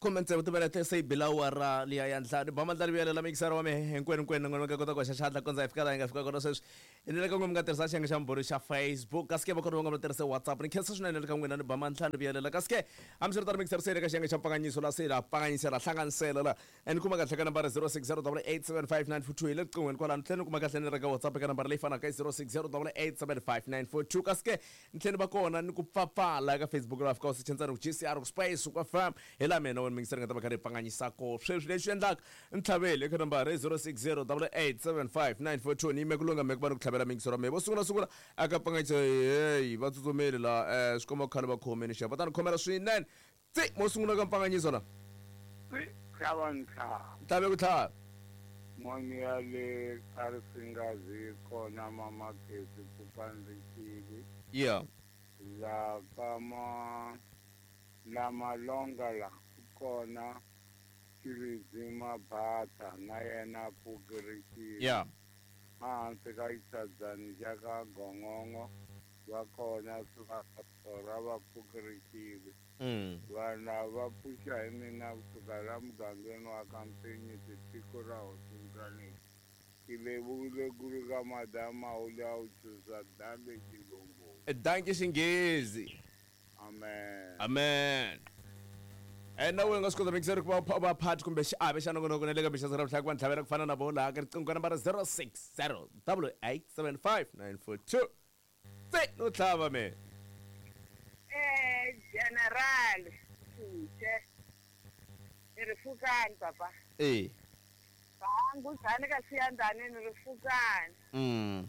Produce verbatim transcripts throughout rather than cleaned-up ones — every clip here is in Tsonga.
Khume tsevu timinete se yi bila awara liya ya ntlhanu ba mandla rivuyelela mixara wa mehe hinkwenu hinkwenu n'wina mi nga kota ku hoxa xandla kondza hi fika laha hi nga fika kona sweswi hi le ka n'wina mi nga tirhisa xiyenge xa mbhuri xa Facebook kasi ke va kona va nga va tirhise WhatsApp ni khensa swinene le ka n'wina ni ba mandla rivuyelela kasi ke hambiswiritano mixara se le ka xiyenge xa mpfanganyiso la se la pfanganyisela hlanganisela la and kuma kahle ka nambara zero six zero double eight seven five nine four two hi le riqinghweni kwalano tlhela ni kuma kahle ni ri ka WhatsApp eka nambara leyi fanaka i zero six zero double eight seven five nine four two kasi ke ni tlhela ni va kona ni ku pfapfala eka Facebook laha fika u search ku G C R ku space ku F M hi laha mina wena mingiseri nga ta va kha ri pfanganyisa ko sweswi leswi endlaka ntlhaveli eka nambara zero six zero double eight seven five nine four two ni yime ku lunga me ku va ni ku tlhavela mingisero wa mehe vo sungula sungula aka pfanganyisa heyi va tsutsumeli la um swi komba ku khale va khomeni xava va ta ni khomela swinene tsi mo sungula ka mpfanganyiso la tlhava ntlhava ntlhave ku tlhava moni ya le a ri singazi kona mamakesi ku pandzekile yeah la ka ma la malonga la kona Chiridzi Mabata na yena pfukerekile yeah ehansi ka xitshadzani xa ka Gongongo va kona swa va pfukerekile mm vanhu lava va pfuxa hi mina kusuka la mugangeni wa ka Mpenyisi tiko ra Hosi ke lebohile kudu ka madama o le a o tšhosa danke xilungu danke xinghezi amen amen e na wena nga swi kota mixer ku va va part kumbe xiave xa nongonoko na le ka mixaso ra vutlhaka va ntlhavela ku fana na vo laha ka riqingho ka nambara zero six zero double eight seven five nine four two tse no tlhava me eh general Phuche ni ri pfukani papa eh vanguzani ka siyandani ni ri pfukani mm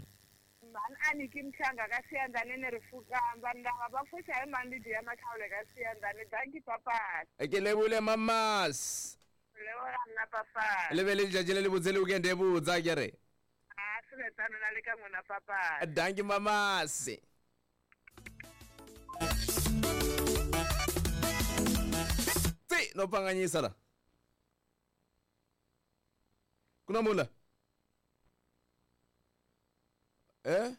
mhani a ni ki mhlanga ka siyandani ni ri pfukani vanhu lava va pfuxa hi mhani Lydia Makhawule ka siyandani danki papa ke lebule mamas leboga nna papa le be le letšatši le le botse le weekend e botsa ke re a swi ve tano na le ka n'wina papa danki mamasi tsi no pfanganyisa la ku na mula eh